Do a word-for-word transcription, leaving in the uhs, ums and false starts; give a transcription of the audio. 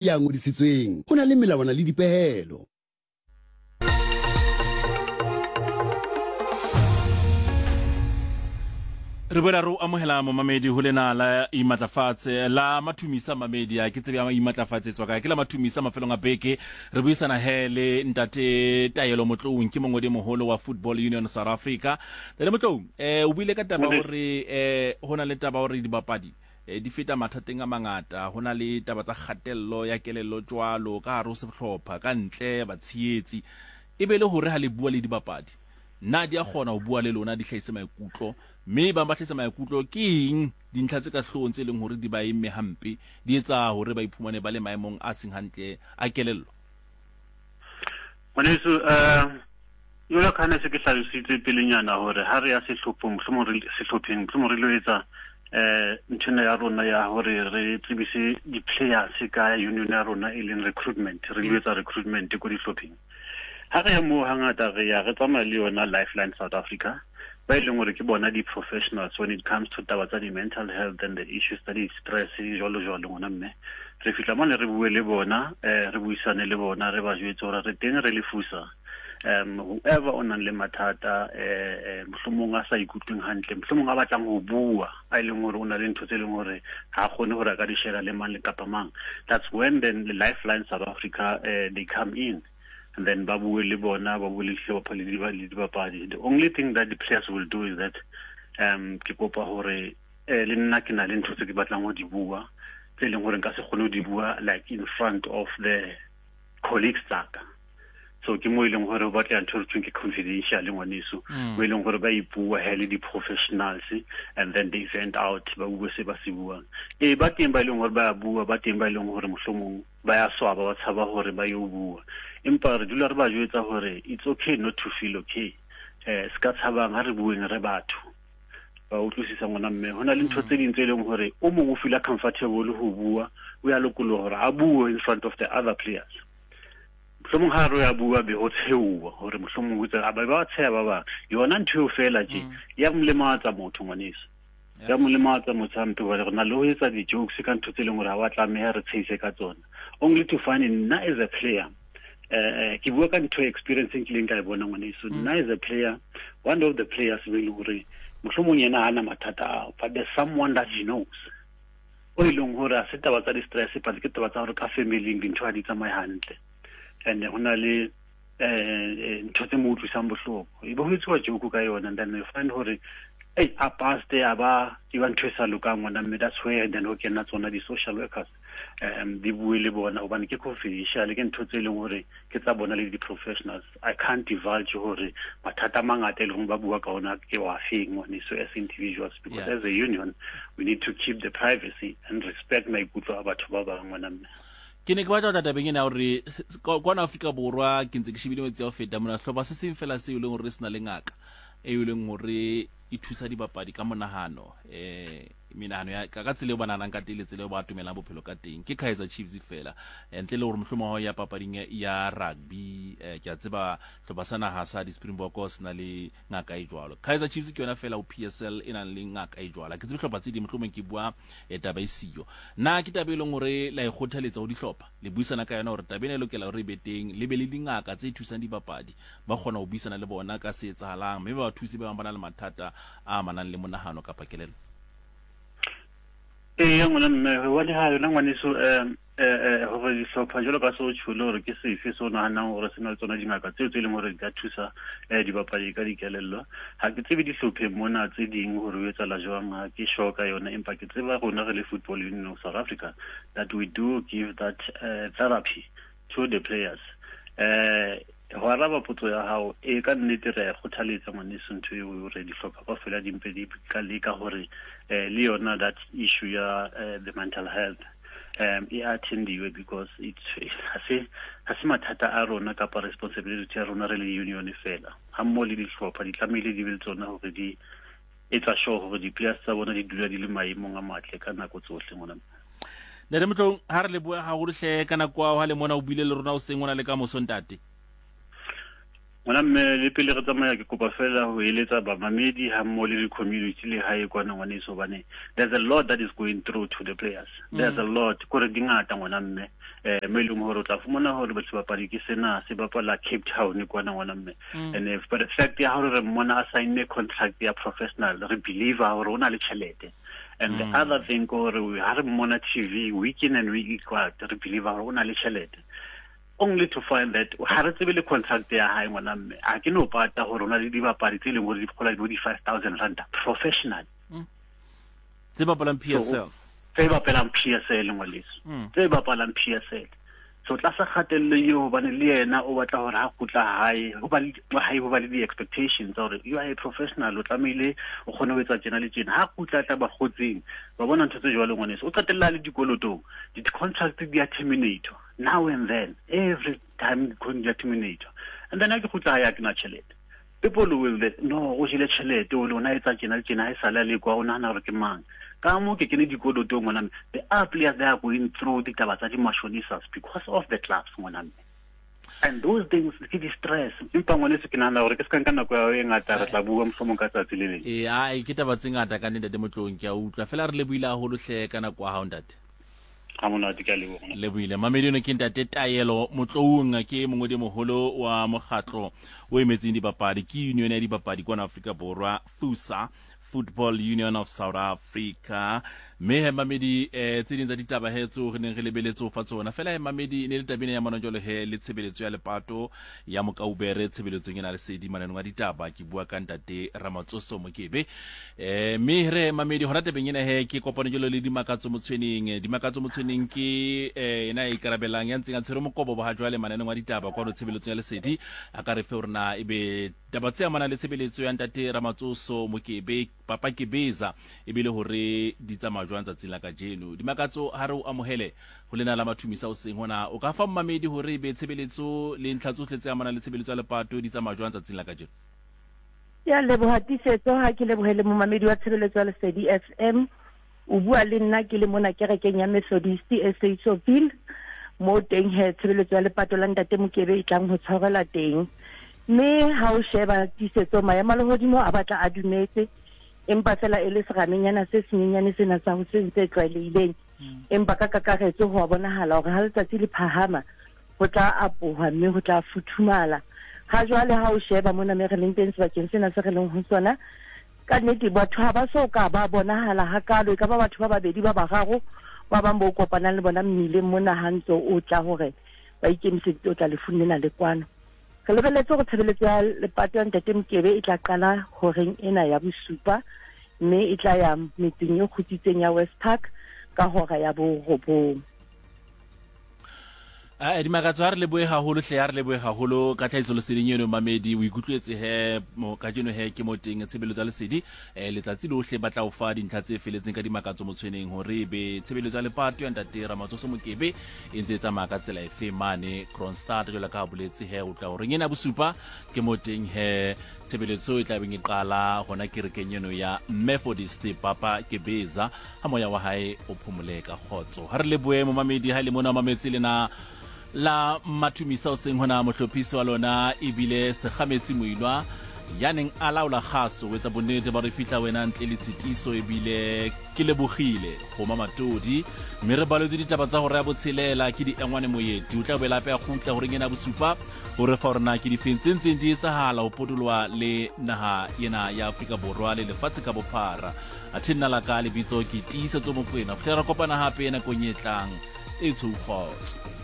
Ya ngodisitsweng ho na le melawana le dipehelo. Re boela re o amohela momamedi ho lena la imatlafatse la mathumisa mamedi a ke tsebe ya imatlafatse tswa kae ke la mathumisa mafelong a beke. Re buisana he le ntate Taelo Motloung, ke mongodi moholo wa Football Union South Africa. Ntate Motloung, eh o buile ka taba hore eh ho na le taba hore dibapadi eh, di feta mathateng a mangata, ho na le taba tsa kgatello ya kelello jwalo ka hare ho sehlopha ka ntle batshehetsi, e be le hore ha le bua le dibapadi na di a kgona ho bua le lona di hlahise maikutlo, mme ba ba hlahisa maikutlo ke eng dintlha tse ka hloohong tse leng hore di ba emme hampe, di etsa hore ba iphumane ba le maemong a seng hantle a kelello? Ngwaneso, eh jwalo ka ha ne se ke hlalositse pelenyana hore ha re ya sehlophong, mohlomong re sehlopheng, mohlomong re lo etsa eh nthwena ya rona ya hore re tsebise di-players ka union ya rona e leng recruitment, re lo etsa recruitment ko dihlopheng. Ha re ya moo hangata re ya re tsamaya le yona Lifeline South Africa, ba e leng hore ke bona di-professionals when it comes to taba tsa di-mental health and the issues tsa di-stress jwalo jwalo. Ngwana mme, re fihla mane re bue le bona, eh re buisane le bona, re ba jwetse hore re teng re le fusa um whoever o nang le mathata, eh mohlomong a sa ikutlweng hantle, mohlomong a batlang ho bua, a e leng hore o na le ntho tse leng hore ha kgone hore a ka di share le mang le kapa mang. That's when then the Lifeline South Africa, uh, they come in and then ba bue le bona, ba bue le dihlopha le dibapadi. The only thing that the players will do is that um ke kopa hore eh le nna ke na le ntho tse ke batlang ho di bua tse leng hore nka se kgone ho di bua like in front of the colleagues tsaka. So ke mo e leng hore o batla ntho e thweng ke confidential ngwaneso, mo e leng hore ba ipua he le di-professionals and then they vent out, ba bue se ba se buang. E ba teng ba e leng hore ba bua, ba teng ba e leng hore mohlomong ba ya swaba, ba tshaba hore ba yo bua, empa re dula re ba jwetsa hore it's okay not to feel okay. Eh se ka tshabang, ha re bueng re batho ba utlwisisa ngwana mme. Ho na le ntho tse ding tse leng hore o mong o feel comfortable ho bua, o ya lokoloha hore a bue in front of the other players. Mohlomong ha re ya bua be ho tshehuwa hore mohlomong ho tsa ba ba tsheha ba bang, yona ntho eo fela tje ya molematsa motho ngwaneso, ya molematsa motho hampe, hobane re na le ho etsa di-jokes ka ntho tse leng hore ha wa tlameha re tshehise ka tsona, only to find nna as a player, eh ke bua ka ntho experience e nkileng ka e bona ngwaneso. Nna as a player, one of the players be leng hore mohlomong yena ha na mathata ao, but there's someone that he knows o e leng hore ha se taba tsa di-stress, but ke taba tsa hore ka family-ing dintho ha di tsamaye hantle, and ho na le eh ntho tse mo utlwisang bohloko, e be ho etsuwa joke ka yona, and then you find hore ei a paste a ba e ba ntho e sa lokang ngwana mme. That's where then ho kena tsona di-social workers, um di bue le bona, hobane ke confidential, ke ntho tse leng hore ke tsa bona le di-professionals. I can't divulge hore mathata a mangata e leng ba bua ka ona ke wa feng ngwaneso as individuals, because Yeah. as a union we need to keep the privacy and respect maikutlo a batho ba bang ngwana mme. Ke ne ke batla ho tla tabeng ena hore kwana Afrika Borwa ke ntse ke shebile metsi a ho feta mona, hlopha se seng fela seo e leng hore se na le ngaka e leng hore e thusa dibapadi ka monahano, eh menahano ya ka tsela eo ba nahanang ka teng le tsela eo ba atomelang bophelo ka teng ke Kaizer Chiefs fela, ntle le hore mohlomong ha o ya papading ya rugby, eh, ke a tseba hlopha sa naha sa di-Springbok se na le ngaka e jwalo. Kaizer Chiefs ke yona fela ho P S L e nang le ngaka e jwalo. Ha ke tsebe hlopha tse ding, mohlomong ke bua eh, taba e siyo. Na ke taba e leng hore la e kgothaletsa ho dihlopha, le buisana ka yona hore taba ena e lokela hore e be teng, le be le dingaka tse thusang dibapadi, ba kgona ho buisana le bona ka se etsahalang, mme ba ba thuse ba bang ba na le mathata a amanang le monahano kapa kelello? Ee, ngwana mme, hobane ha yona ngwaneso, eh, eh, hore dihlopha jwalo ka se o tjhole hore ke sefe se o nahanang hore se na le tsona dingaka tseo tse leng hore di ka thusa, eh, dibapadi ka dikelello. Ha ke tsebe dihlopheng mona tse ding hore ho etsahala jwang, ha ke sure ka yona, empa ke tseba rona re le Football Union of South Africa that we do give that, uh, therapy to the players. Eh, ho araba potso ya hao, e ka nnete re a kgothaletsa ngwaneso ntho eo hore dihlopha kaofela di mpe di ka leka hore, eh, le yona that issue ya, eh, the mental health, um e attendiwe, because it's ha se ha se mathata a rona kapa responsibility ya rona re le union fela, ha mmoho le dihlopha di tlamehile di be le tsona hore di etsa sure hore di-players tsa bona di dula di le maemong a matle ka nako tsohle ngwana. Ntate Motloung, ha re leboha haholo hle ka nako ya hao ha le mona o buile le rona hoseng hona le ka moso ntate. Ngwana mme, le pele re tsamaya ke kopa fela ho eletsa bamamedi ha mmoho le di-community le hae kwana ngwaneso, hobane there's a lot that is going through to the players. There's a lot, kore di ngata ngwana mme. Eh mo leng hore o tla fumana hore sebapadi ke sena se bapala Cape Town kwana ngwana mme. And if but the fact ya hore re mmona a sign contract ya professional, re believe hore o na le tjhelete. And the other thing hore ha re mmona T V week in and week out, re believe hore o na le tjhelete. Only to find that ha re tsebe le contract ya hae ngwana mme, a ke no pata hore o na le dibapadi tse leng hore di kgola di five thousand rand professional. Tse bapalang P S L. Tse bapalang P S L ngwaneso. Tse bapalang P S L. So tlasa kgatello eo hobane le yena o batla hore ha kgutla hae, ho ba le hae ho ba le di-expectations tsa hore you are a professional, o tlamehile o kgone ho etsa tjena le tjena. Ha kgutla tla ba kgotseng, ba bona ntho tse jwalo ngwaneso. O qetella le dikolotong. Di-contract di a terminate now and then, every time di a terminate. And then ha ke kgutla hae ha ke na tjhelete. People will no o jele tjhelete o lona etsa tjena le tjena ha e sale le kwa o nahana hore ke mang. Ka mo ke kene dikolotong ngwana mme. There are players that are going through ditaba tsa di-mashonisas because of the clubs ngwana mme. And those things ke di-stress. Empa ngwaneso ke nahana hore ke se ka nka nako ya e ngata, re tla bua mohlomong ka tsatsi le leng. Ee, ai ke taba tse ngata ka ntate Motloung, ke a utlwa. Fela re lebohile haholo hle ka nako ya hao ntate. Ha monate, ke a leboha. Lebohile. Mamedi ono ke ntate Taelo Motloung, ke mongodi moholo wa mokgatlo o emetseng dibapadi, ke union ya dibapadi kwana Afrika Borwa, FUSA, Football Union of South Africa. Mme he mamedi, eh tse ding tsa ditaba he tseo re neng re lebeletse ho fa tsona. Fela he mamedi, ne le tabeng ya manonjolo he le tshebeletso ya lepato ya Mokaubere tshebeletsong ena lesedi mananeng a ditaba. Ke bua ka ntate Ramatsoso Mokebe. Eh mme re mamedi hona tabeng ena he ke kopano jalo le Dimakatso Motshweneng. Dimakatso Motshweneng ke eh ena e ikarabelang ya ntseng a tshwere mokobo ba jwale mananeng a ditaba kwano tshebeletsong ya lesedi. A ka re fe hore na ebe taba tse amanang le tshebeletso ya ntate Ramatsoso Mokebe Papa Kebeza ebile hore di tsamaya jwang tsatsing la kajeno. Dimakatso, ha re o amohele ho lena la mathumisa o seng hona, o ka fa mmamedi hore ebe tshebeletso le ntlha tsohle tse amanang le tshebeletso ya lepato di tsamaya jwang tsatsing la kajeno? Ya leboha Tiisetso, ha ke lebohele momamedi wa tshebeletso ya Lesedi F M. O bua le nna ke le mona kerekeng ya Methodist e Seisoville, mo teng he tshebeletso ya lepato la ntate Mokebe e tlang ho tshwarelwa teng. Mme ha o sheba Tiisetso, maemo a lehodimo a batla a dumetse, empa fela e le seramenyana se senyenyane sena sa ho se ntse tlwaelehileng. Empa ka kakaretso ho a bonahala hore ha letsatsi le phahama ho tla apoha mme ho tla futhumala. Ha jwale ha o sheba mona me re leng teng sebakeng sena se re leng ho sona, ka nnete batho ha ba so ka ba bonahala hakalo. E ka ba batho ba babedi ba bararo ba bang bo kopanang le bona mmileng mona ha ntso o tla hore ba ikemiseditse o tla lefung lena le kwano. Re lebeletse hore tshebeletso ya lepato ya ntate Mokebe e tla qala horeng ena ya bosupa, mme e tla ya metseng e kgutsitseng ya West Park ka hora ya borobong. Ah, Dimakatso, ha re lebohe haholo hle, ha re lebohe haholo ka tlhahiso leseding eno mamedi. O ikutlwetse he mo kajeno he ke mo teng tshebeletso ya lesedi eh letsatsi lohle ba tla o fa dintlha tse feletseng ka Dimakatso Motshweneng hore ebe tshebeletso ya lepato ya ntate Ramatsoso Mokebe e ntse e tsamaya ka tsela efe mane Kroonstad jwalo ka ha boletse he o tla horeng ena bosupa ke mo teng he tshebeletso e tla beng e qala hona kerekeng eno ya Methodist Papa Kebeza. Ha moya wa hae o phomole ka kgotso. Ha re lebohe momamedi ha le mona mametse lena la mathumisa o seng hona mohlophisi wa lona ebile Sekgametsi Moilwa ya neng a laola kgaso o etsa bonnete ba re fihla wena ntle le tshitiso ebile ke lebogile go Mamatodi. Mme re baletse ditaba tsa hore ya botshelela ke di engwane moeti o tla boela hape a kgutla horeng ena bosupa hore fa hore na ke difeng tse ntseng di etsahala ho potoloha le naha ena ya Afrika Borwa le lefatshe ka bophara. Athe nna la ka lebitso ke Tiisetso Mokoena. Ho fihlela re kopana hape nakong e tlang e tshou kgotso.